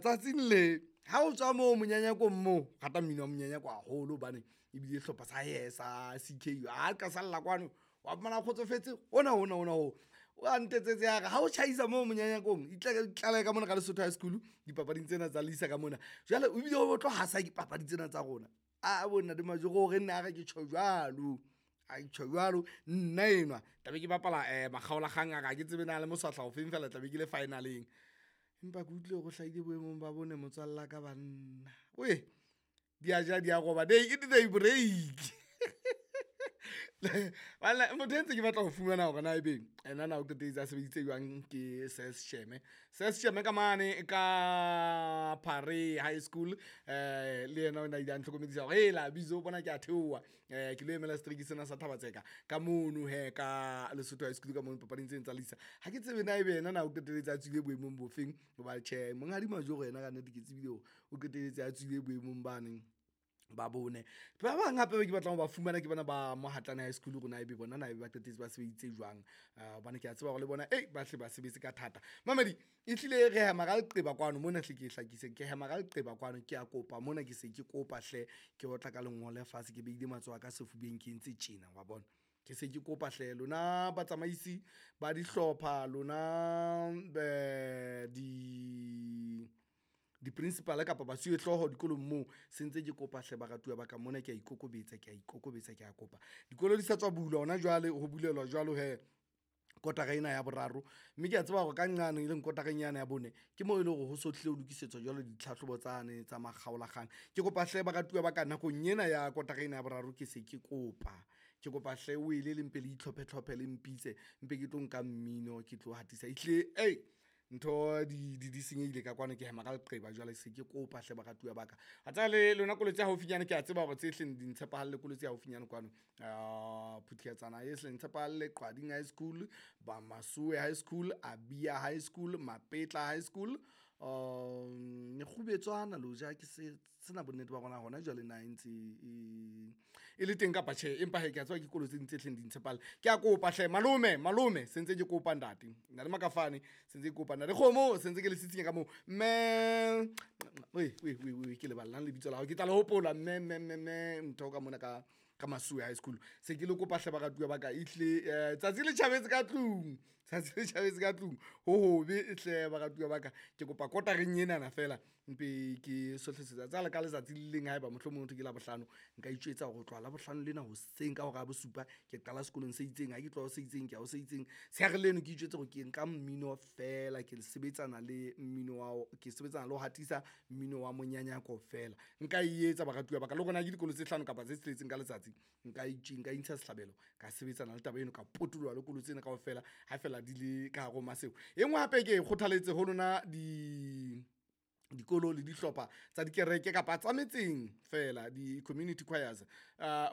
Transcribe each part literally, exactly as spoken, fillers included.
Tsatsing le ha o tswa moo monyanyakong moo, rata mmino wa monyanyako haholo hobane ebile sehlopha sa he sa C K ha ka salla kwano wa fumana kgotsofetse hona hona hona ho o a ntetsetse ya re ha o tjhaisa moo monyanyakong itlale ka mona ka Lesotho High School dipapading tsena tsa Lisa ka mona. Jwale o bile o tlo hasa dipapadi tsena tsa rona. A bo ntate Majoro hore nna a re ke tjho jwalo, a tjho jwalo nna enwa tla be ke bapala makgaolakgang a ka ha ke tsebe na le moswahla ofeng fela tla be ke le final-eng. Empa ke utlwile hore o hlahile boemong ba bone motswalla ka banna. Wee di a ja di a roba, they eat they break. Banna motho e ntse ke batla ho fumana hore na ebe ena na o qetelletse a sebeditse jwang ke Ses Sheme. Ses Sheme ka mane ka Phare High School le yena o na ile a ntlhokomedisa hore hela Bizo bona ke a theoha ke lo emela setereke sena sa Thaba-Tseka ka mono hee ka Lesotho High School ka mono papading tseno tsa Lisa. Ha ke tsebe na ebe yena na o qetelletse a tswile boemong bofeng hoba tjhe, Monghadi Majoro yena kannete ke tsebile hore o qetelletse a tswile boemong bane ba bone. Ba bang hape be ke batlang ho ba fumana ke bana ba Mohatlane High School hore na ebe bona na ebe ba qetetse ba sebeditse jwang. Hobane ke a tseba hore le bona ba hle ba sebetse ka thata. Mamedi ehlile re hema ka leqeba kwano mona hle ke hlakise, ke hema ka leqeba kwano. Ke a kopa mona ke se ke kopa hle ke otla ka lengole fatshe, ke behile matsoho a ka sefubeng, ke entse tjena wa bona. Ke se ke kopa hle lona batsamaisi ba dihlopha, lona di di-principal kapa basuwehlooho dikolong moo se ntse ke kopa hle baratuwa ba ka mona ke a ikokobetsa, ke a ikokobetsa, ke a kopa. Dikolo di sa tswa bulwa hona jwale ho bulelwa jwalo hee kotara ena ya boraro, mme ke a tseba hore ka nqane e leng kotareng yane ya bone, ke moo e leng hore ho so tlile ho lokisetswa jwale ditlhahlobo tsane tsa makgaolakgang. Ke kopa hle baratuwa ba ka nakong ena ya kotara ena ya boraro, ke se ke kopa ke kopa hle wele le mpe le itlhophe tlhophe le mpitse mpe ke tlo nka mmino, ke tlo hatisa ehlile ntho di di senyehile ka kwano, ke hema ka leqeba jwale se ke kopa hle baratuwa ba ka. Wa tseba le lona kolo tse haufinyane ke a tseba hore tse hleng di ntshepahalle kolo tse haufinyane kwano. Phuthiatsana e hle ntshepahalle, Qwading High School, ba Masuwe High School, Abia High School, Mapetla High School, Mekgubetswana le hoja ke se sena bonnete ba hore na hona jwale na e ntse e e le teng kapa tjhe, empa hee ke a tseba ke dikolo tse ding tse hleng di ntshepahalle. Ke a kopa hle malome malome se ntse ke kopa ntate, ntate Makafane se ntse ke kopa ntate Kgomo se ntse ke le sitsinya ka moo. Mme wee wee wee ke leballang lebitso la hao, ke tla le hopola mme mme mme mme ntho ka mona ka ka Masuwe High School. Se ke le kopa hle baratuwa ba ka ehlile tsatsi le tjhabetse ka tlung, tsatsi le tjhabetse ka tlung ho hobe hle baratuwa ba ka. Ke kopa kotareng enana feela mpe ke sohlesetsa tsala ka letsatsi le leng haeba mohlomong ho thwe ke Labohlano, nka itjwetsa hore ho tloha Labohlano lena hoseng ka hora ya bosupa ke qala sekolong se itseng, ha ke tloha ho se itseng, ke ya ho se itseng. Tsheare leno ke itjwetse hore ke nka mmino feela, ke sebetsana le mmino wa ke sebetsana le ho hatisa mmino wa monyanyako feela. Nka e etsa baratuwa ba ka le hore na ke dikolo tse hlano kapa tse tsheletseng ka letsatsi. Nka nka intsha sehlabelo ka sebetsana le taba eno, ka potoloha le kolo tsena kaofela ha feela di le ka hare ho Maseru. E nngwe hape ke e kgothaletse ho lona di dikolo le dihlopha tsa dikereke kapa tsa metseng feela di-community choirs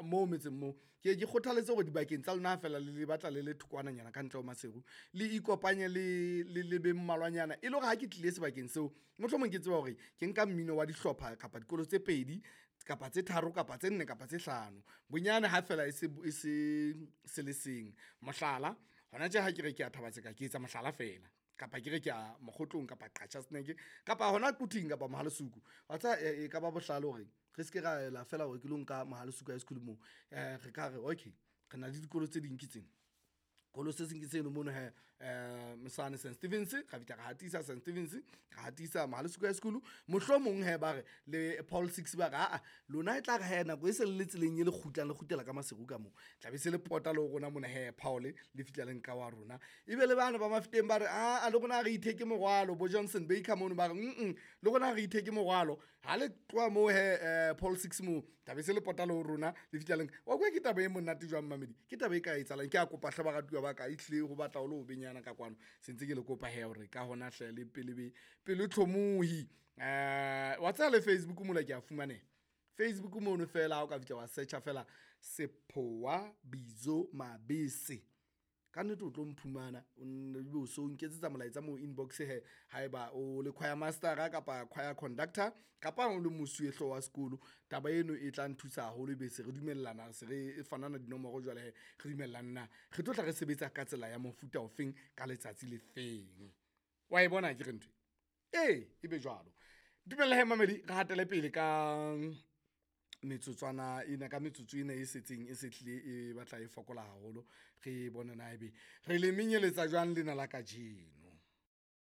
moo metseng moo. Ke ye ke kgothaletse hore dibakeng tsa lona ha feela le le batla le le thokwananyana ka ntle ho Maseru, le ikopanye le le le be mmalwanyana e le hore ha ke tlile sebakeng seo, mohlomong ke tseba hore ke nka mmino wa dihlopha kapa dikolo tse pedi kapa tse tharo kapa tse nne kapa tse hlano. Bonyane ha feela e se e se se le seng. Mohlala, hona tje ha ke re ke ya Thaba-Tseka ke etsa mohlala feela kapa ke re ke ya Mokgotlong kapa Qacha's Nek kapa hona Quthing kapa Mohale's Hoek. Wa tseba e ka ba bohlale hore re ske ra ela feela hore ke lo nka Mohale's Hoek High School moo. Re ka re okay, re na le dikolo tse ding ke tsena. Kolo se seng ke seno mono hee sane Saint Stephens, ra fihla ra hatisa Saint Stephens, ra hatisa Mohale's Hoek High School. Mohlomong hee ba re le Paul Six ba re aa lona e tla re hee nako e se le le tseleng e le kgutlang le kgutlela ka Maseru ka moo, tla be se le pota le ho rona mona hee Paul le fihla le nka wa rona. Ebe le bane ba Mafeteng ba re aa le rona ha re itheke morwalo, bo Johnson Baker mono ba re mm le rona ha re itheke morwalo. Ha le tloha moo hee Paul Six moo tla be se le pota le ho rona le fihla le nka. Wa kwa ke taba e monate jwang mamedi, ke taba e ka etsahalang. Ke a kopa hle baratuwa ba ka ehlile ho batla ho le hobenyana ka kwano. Se ntse ke le kopa hee hore ka hona hle le pele be pelo tlhomohi. Wa tseba le Facebook mola ke a fumaneha. Facebook mono feela ha o ka fihla wa search-a feela Sephowa Bizo Mabese, kannete o tlo mphumana ebe o so nketsetsa molaetsa moo inbox hee haeba o le choir master-a kapa choir conductor kapa o le mosuwehlooho wa sekolo. Taba eno e tla nthusa haholo ebe se re dumellana, se re fanana dinomoro jwale hee re dumellane na re tlo tla re sebetsa ka tsela ya mofuta ofeng ka letsatsi le feng. Wa e bona akere ntho e? Ee, ebe jwalo. Dumela he mamedi, re hatele pele ka metsotswana ena, ka metsotso ena e setseng e sehlile e batla e fokola haholo. Re bone na ebe re le menyeletsa jwang lena la kajeno.